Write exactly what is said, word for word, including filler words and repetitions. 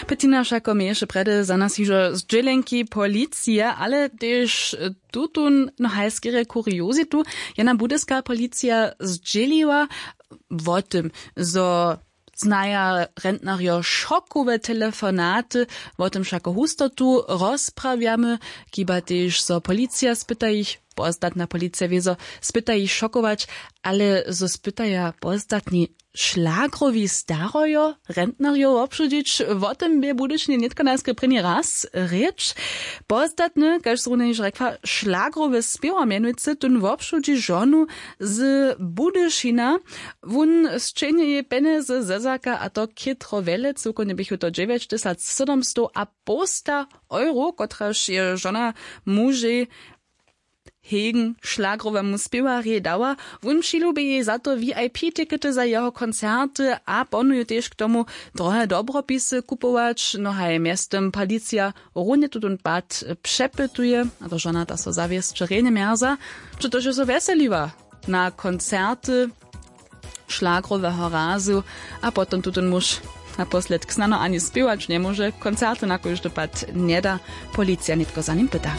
Pytina wšako měješe prjedy za nas hižo zdźělenki policije, ale tež tutón, no haj skerje kuriozitu. Jena budyska policija zdźěliła wo tym, zo znaja rentnarjo šokowe telefonaty. Wo tym wšako husto tu rozprawjamy. Chiba tež zo policija spyta jich, postatna policija wězo spyta jich šokować, ale zo spytaja postatni šlagrowi starojo rentnarjow wobšudźić, wo tym bě w budyšinje nětko najskry prěni raz rěč. Postatny, kaž zrunje hižo rjekła, šlagrowy spěwar mjenujcy tón wobšudźi žonu z budyšina. Wón sćenje jej pjenjezy zezaka, a to chětro wjele, cyłkownje běchu to dźewjećtysac sydomstow a połsta euro, kotraž je žona mužej hegen šlagrowemu spěwarjej dała. Wón přilubi jej za to vip tikety za jeho koncerty a ponuju tež k tomu, drohe dobropisy kupować. No haj mjeztym policija runje tutón pad přepytuje, a to žona ta so zawěsće rjenje mjerza, přetož je so wjeseliła na koncerty šlagroweho razu. A potom tutón muž na posledk snano ani spěwać njemóže, koncerty na kóždy pad njeda. Policija nětko za nim pyta.